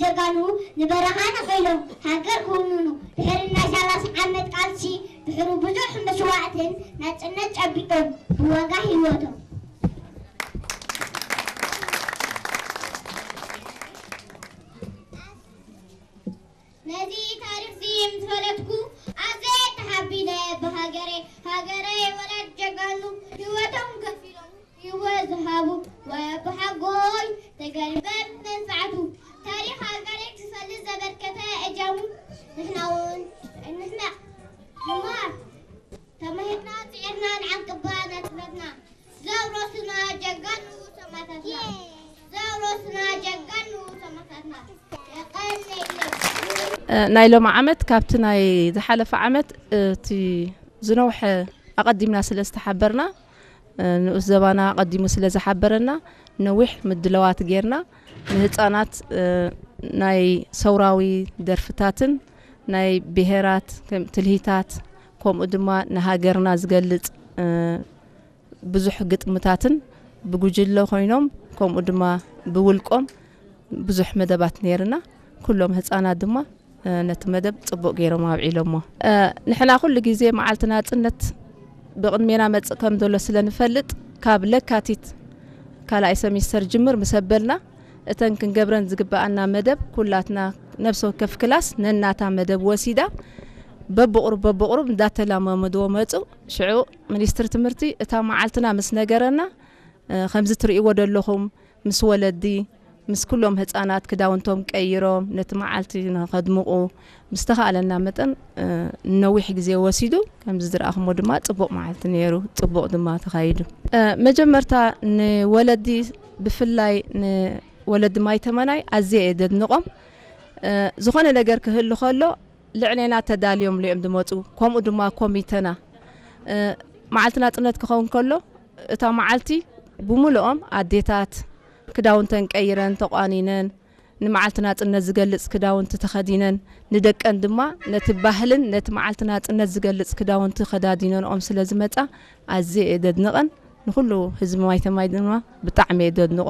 ጀጋኑ ንበረኻ ነኺሎም ሃገር ክውንኑ ድሕሪ ናይ ሰላሳ ዓመት ቃልሲ ድሕሪ ብዙሕ መስዋእትን ናጽነት ጨቢጦም ብዋጋ ህይወቶም። ነዚ ታሪኽዚ ምስ ፈለጥኩ ኣዝየ ተሓቢነ ብሃገረይ። ሃገረይ ወላድ ጀጋኑ ህይወቶም ከፊሎም ህይወት ዝሃቡ ወይ ኣቦሓጎይ ተጋድሎ መንፍዓቱ። ታሪኽ ሃገረይ ክፈልጥ ዘበርከተ እጃሙ ንሕና እውን ንሕና ንማር ተማሂርና ጽዒርና ንዓንቅባ ነጥበትና ዘውረሱና ጀጋኑ ሰማእታትና ዘውረሱና ጀጋኑ ሰማእታትና የቐንየሎም። ናይ ሎሚ ዓመት ካብቲ ናይ ዝሓለፈ ዓመት እቲ ዝነውሐ ኣቐዲምና ስለ ዝተሓበርና ንኡስ ዘባና ኣቐዲሙ ስለ ዝሓበረና ነዊሕ ምድለዋት ጌርና ንህፃናት ናይ ሰውራዊ ደርፍታትን ናይ ብሄራት ትልሂታት ከምኡ ድማ ንሃገርና ዝገልፅ ብዙሕ ግጥምታትን ብጉጅለ ኮይኖም ከምኡ ድማ ብውልቆም ብዙሕ መደባት ነይርና። ኩሎም ህፃናት ድማ ነቲ መደብ ፅቡቕ ገይሮም ኣብዒሎሞ። ንሕና ኩሉ ግዜ መዓልቲ ናፅነት ብቕድሜና መፅእ ከም ዘሎ ስለ ንፈልጥ ካብ ለካቲት ካልኣይ ሰሚስተር ጅምር ምስ ኣበልና እተን ክንገብረን ዝግበኣና መደብ ኩላትና ነብሲ ወከፍ ክላስ ነናታ መደብ ወሲዳ በብቑሩብ በብቑሩብ እንዳተላማመድዎ መፁ። ሽዑ ሚኒስትሪ ትምህርቲ እታ መዓልትና ምስ ነገረና ከምዚ ትርእይዎ ዘለኹም ምስ ወለዲ ምስ ኩሎም ህፃናት ክዳውንቶም ቀይሮም ነቲ መዓልቲ ንኸድምቑ ብዝተኻእለና መጠን ነዊሕ ግዜ ወሲዱ። ከምዚ ዝረኣኹሞ ድማ ፅቡቕ መዓልቲ ነይሩ፣ ፅቡቕ ድማ ተኻይዱ። መጀመርታ ንወለዲ ብፍላይ ንወለዲ ማይተመናይ ኣዝየ እየ ደድንቖም። ዝኾነ ነገር ክህሉ ከሎ ልዕሌና ተዳልዮም እዮም ዝመፁ። ከምኡ ድማ ኮሚተና መዓልቲ ናፅነት ክኸውን ከሎ እታ መዓልቲ ብምልኦም ኣዴታት ክዳውንተን ቀይረን ተቋኒነን ንመዓልቲ ናፅነት ዝገልፅ ክዳውንቲ ተኸዲነን ንደቀን ድማ ነቲ ባህልን ነቲ መዓልቲ ናፅነት ዝገልፅ ክዳውንቲ ከዳዲነንኦም ስለ ዝመፃ ኣዝየ እየ ደድንቐን። ንኩሉ ህዝቢ ማይተማይ ድማ ብጣዕሚ እየ ደድንቖ።